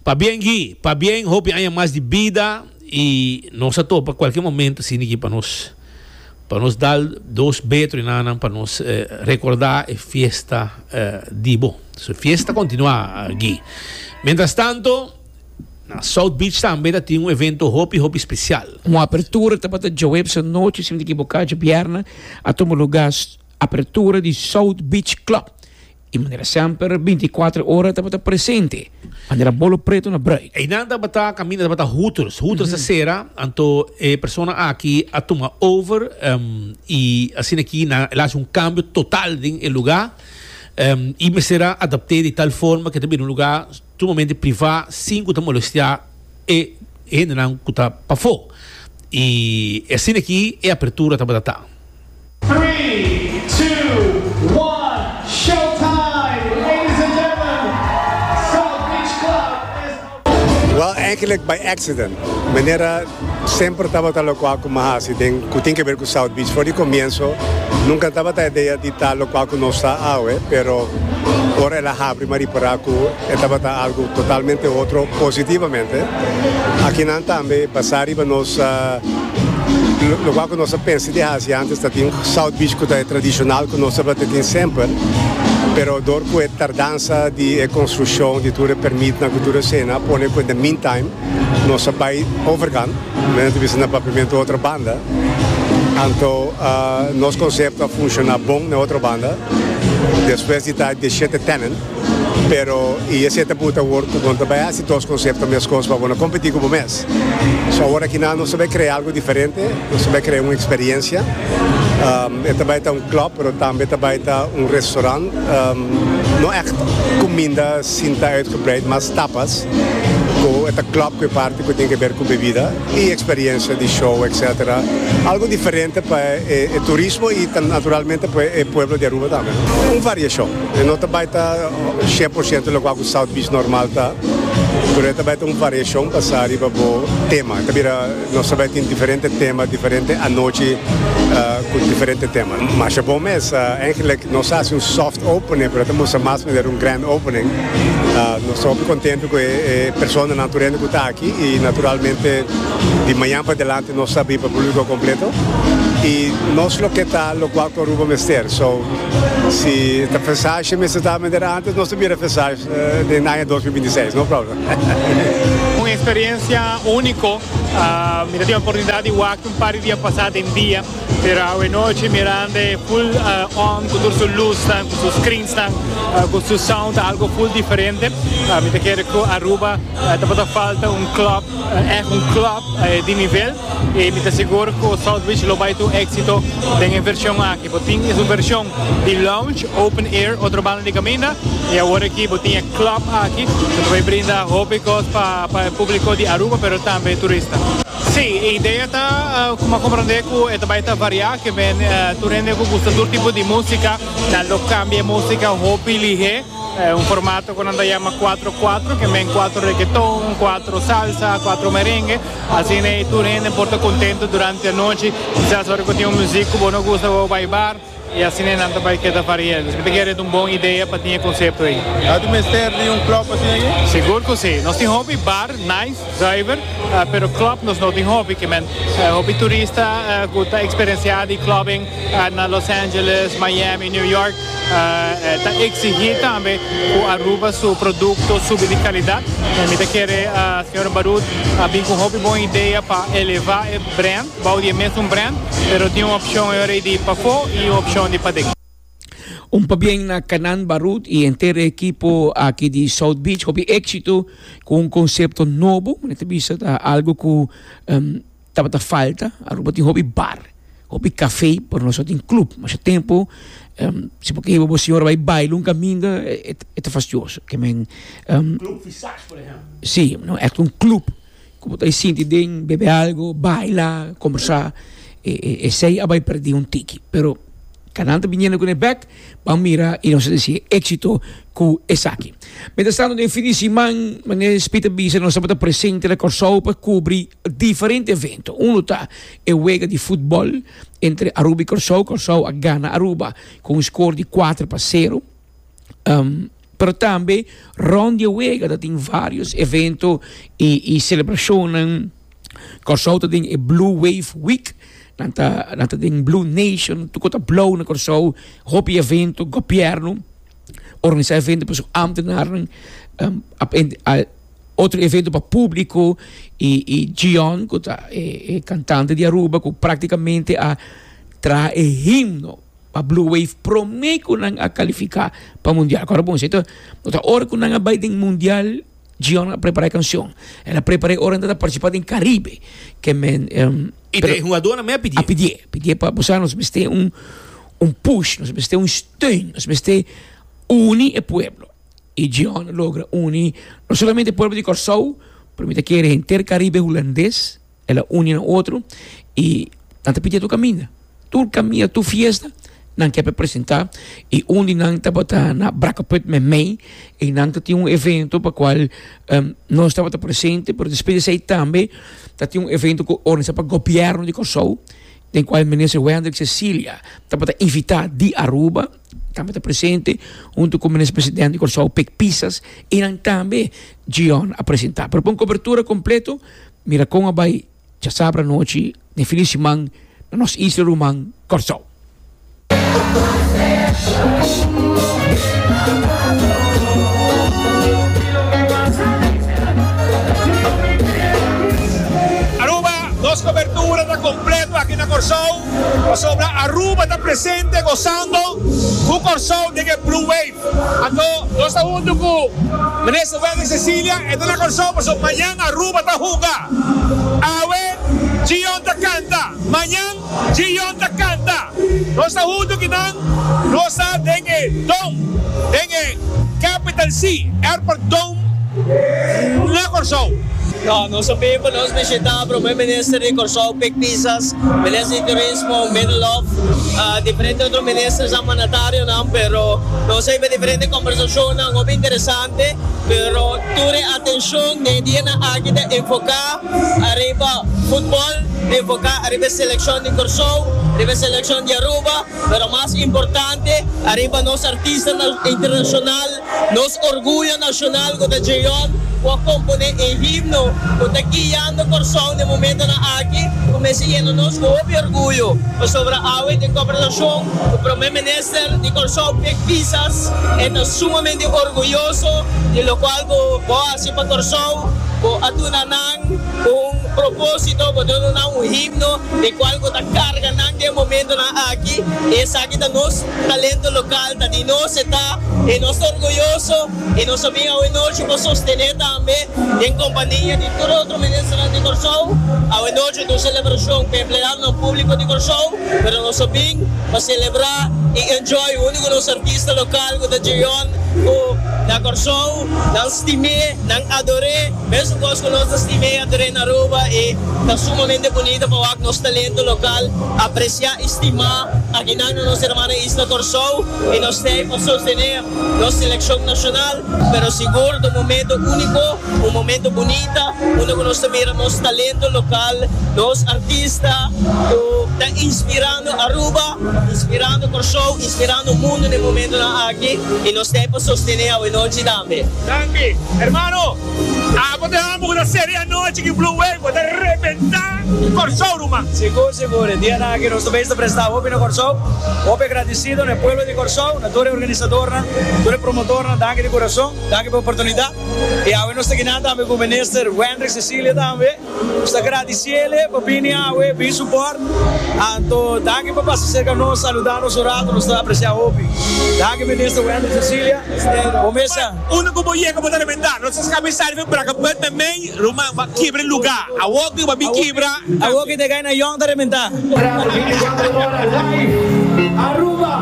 Pabien Guy, pabien hopi aña mas di bida y nos a topa cualkier momento asina aki pa nos pa nos dal dos betro y nanan pa nos recorda e fiesta di bo. So fiesta continua Guy. Mientras tanto na South Beach tambe ta tin un evento hopi hopi special. Un apertura tabata djaweps anochi si mi ta ekiboká djabièrnè a tuma lugá apertura di South Beach Club. I manera semper bintikuater ora tabata presente, manera bolo preto na bruid. Einan tabata kaminda tabata Hooters. Hooters a sera, anto e persona aki a tuma over i asina aki nan el a hasi un kambio total den e lugá i mester a adapt'é di tal forma ku e ta bira un lugá sumamente privá sin ku ta molestiá e hendenan ku ta pafó. I asina aki e apertura tabata ta. Three, two, one, show time! Ladies and gentlemen, South Beach Club is open! Wel, eigenlijk by accident. Manera semper tabata locual cu mi a haci den cu tin ke ber cu South Beach for di comienzo nunca tabata idea di ta locual cu nos ta awe, pero ora el a habri mi a ripara cu e tabata algo totalmente otro positivamente. Akinan tambe basa riba nos. Lokual ku nos a pensa di hasi antes ta tin South Beach ku ta e tradishonal ku nos tabata tin semper, pero dor ku e tardansa di e konstrukshon di tur e permitnan ku tur esena a pone ku in the meantime nos a bai overkant, men ta bisa na papiamentu otro banda, anto nos konsepto a funshoná bon na otro banda despues di ta dieshete tenant. Pero i esei ta buta awor ku bo no ta bai hasi dos konsepto meskos pa bo no kompetí ku bo mes. So awor akinan nos ta bai krea algu diferente, nos ta bai krea un eksperiensia. E ta bai ta un klòp pero tambe ta bai ta un restorant. No ègt kuminda sinta uitgebreid, mas tapas ku e ta klòp ku e parti ku tin ke ber ku bebida i eksperiensia di show etcetera. Algu diferente pa e turismo i naturalmente pa e pueblo di Aruba tambe. Un variashon. E no ta bai ta 100% lokual ku South Beach normal ta, pero e ta bai ta un variashon basá riba bo tema. E ta bira, nos ta bai tin diferente tema, diferente anochi ku diferente tema. Masha bon mes, eigenlijk nos a hasi un soft opening, pero e ta mustra mas manera un grand opening. Nos ta hopi kontento ku e personanan tur hende ku ta aki i naturalmente di mañan pa delante nos ta habrí pa públiko kompleto i nos loke ta lokual ku Aruba mester. So. Si ta fesashi mester ta manera antes nos ta bira fesashi den aña 2026, no problem. Un experiencia unico, mi ta tin oportunidad di wak un par di dia pasa den dia, pero awe nochi mirando e full on cu tur su luznan, cu su screensnan, cu su sound ta algo full diferente. Mi ta kere cu Aruba tabata falta un club, echt un club di nivel y mi ta sigur cu South Beach lo bay ta un exito den e version aki. Bo tin es un version di lounge, open air, otro banda di caminda. Y awor aki bo tin e club aki cu ta bay brinda hopi cos pa pa e publico di Aruba pero tambe e turista. Si, e idea ta cu mi a comprende cu e ta bay ta varia, ke men tur hende cu gusta tur tipo di musica nan lo cambia e musica hopi lihe. Un formato cu nan ta yama cuatro cuatro, ke men cuatro reggaeton, cuatro salsa, cuatro merengue. Asina ei tur hende por ta contento durante anochi. Kisas ora cu tin un muziek cu bo no gusta bo bai bar y asina nan ta bai keda varia. Dus mi ta kere ta un bon idea pa tin e concepto ei. A tin mester di un club asina aki? Sigur cu si. Nos tin hopi bar nice, zuiver, pero club nos no tin hopi. Ke men hopi turista cu ta experiencia di clubbing na Los Angeles, Miami, New York. Ta exigi tambe cu Aruba su producto subi di calidad. Mi ta kere señor Barut a bin cu hopi bon idea pa eleva e brand, bou di e mesun brand, pero tin un opcion e ora ey di pafo y un opcion di paden. Un pabien na Canan Barut y henter e ekipo aki di South Beach. Hopi exito cu un concepto nobo. Mi ta bisa ta algo cu tabata falta. Aruba tin hopi bar, hopi café, pero nos no tin club. Masha tempo, si bo ke hiba bo señora bai baila un caminda, e ta fastioso. Ke men, Club Visage, por ehempel. Sí, no, echt un club ku bo ta sinti den, bebe algo, baila, combersa. Esei a bai perdi un tiki. Pero Canan ta biniendo ku ne bek, ban mira i nos ta desi éxito ku esaki. Mientras tanto, den fin di siman, manera Speed a bisa, nos tabata presente na Kòrsou pa kubri diferente evento. Uno ta e wega di futbol entre Aruba y Kòrsou. Kòrsou a gana Aruba ku un skor di kuater pa sero. Pero tambe rond di e wega ta tin varios evento y y celebracionnan. Kòrsou ta den e Blue Wave Week, nan ta nan ta den Blue Nation, tur kos ta blou na Kòrsou, hopi evento, gobièrnu organisá evento pa su ámtenarnan, otro evento pa públiko y y Gion ku ta e e kantante di Aruba ku práktikamente a traha e himno pa Blue Wave promé ku nan a kalifiká pa mundial. Kòrda bon esei ta no ta ora ku nan a bai den mundial Gion a prepará e kanshon. El a prepar'é ora nan ta partisipá den Karibe. Ke men I ta e hungadónan mes a pidié. A pidié. Pidié pa bo sa nos mester un un push, nos mester un steun, nos mester uni e pueblo. I Gion a logra uni no solamente e pueblo di Kòrsou, pero mi ta kere henter Karibe Hulandes. El a uni nan otro i nan ta pidia tur kaminda. Tur kaminda, tur fiesta nan ke presenta i un di nan tabata na Brakkeput Memey i nan ta tin un evento pa kual nos tabata presente pero despues di esei tambe ta tin un evento ku organisa pa gobièrnu di Kòrsou den kual minister Wendrick Cecilia tabata invitá di Aruba tabata presente hunto ku minister presidente di Kòrsou Pik Pisas i nan tambe Gion a presenta. Pero pa un kobertura kompleto. Mira kon a bai djasabra anochi den fin di siman na nos isla ruman Kòrsou. Aruba, nos cobertura ta completo aki na Kòrsou pasobra Aruba ta presente gozando cu Kòrsou den e Blue Wave. Anto nos ta huntu ku Minister Wendy Cecilia, e ta na Kòrsou pasobra mañan Aruba ta hunga. Awe Gion ta kanta, mañan Gion ta kanta. Nos ta huntu ki nan, nos ta den e Dome, den e Capital C Airport Dome na Kòrsou. No, nos a bin pa nos bishita Prome Minister di Kòrsou Pik Pisas, Minister di Turismo Middelhof, diferente otro ministersnan, mandatarionan, pero nos a hiba diferente kombersashonnan hopi interesante, pero tur e atenshon den e dianan aki ta enfoká ariba futbòl, enfoká ariba e selekshon di Kòrsou, riba e selekshon di Aruba, pero mas importante ariba nos artistanan internashonal. Nos orguyo nashonal ku ta Jeon ku a komponé e himno ku ta guiando Kòrsou den momentonan aki ku mester yena nos ku hopi orguyo pasobra awe den kòmbersashon ku Prome Minister di Kòrsou Pik Pisas e ta sumamente orguyoso di lokual ku bo a hasi pa Kòrsou bo a duna nan un propósito bo duna nan un himno di kual ku ta karga nan den momentonan aki i esaki ta nos Talento local ta di nos e ta y nos ta orguyoso y nos a bin awe nochi pa sostene tambe den compania di tur otro ministernan di Corsou. Awe nochi ta un celebracion pa empleadonan publico di Corsou, pero nos a bin pa celebra y enjoy hunto cu nos artista local cu ta Jeon cu na Corsou nan stim'e, nan ador'e, mesun cos cu nos ta stim'e y ador'e na Aruba y ta sumamente bunita pa wak nos talento local aprecia y stima. Akinan na nos hermana isla Kòrsou i nos t'ei pa sostené nos selekshon nashonal, pero sigur ta un momento úniko, un momento bunita unda ku nos ta mira nos talento lokal, nos artista ku ta inspirando Aruba, inspirando Kòrsou, inspirando mundu den momentonan aki i nos t'ei pa sostené awenochi tambe. Danki hermano. Abo ta hamba ku ta seri anochi ki Blue Wave bo ta rebenta Kòrsou ruman. Sigur sigur, e dianan aki nos ta bes ta presta hopi na Kòrsou, hopi agradesido na e pueblo di Kòrsou, na tur e organisadornan, tur e promotornan, danki di kurason, danki pa e oportunidat. I awe nos ta kinan tambe ku Minister Wendrick Cecilia tambe. Nos ta gradiciele pa bini awe, bin support. Anto danki pa pasa cerca nos, saluda nos un rato, nos ta aprecia hopi. Danki Minister Wendy Cecilia. Bo mesa. Unda cu bo yega bo ta rebenta. Nos ta scapi sali fen braca put na mey, ruman bo a kibra e luga. Awor cu bo a bin kibra. Awor cu ta gana yong ta rebenta. Aruba.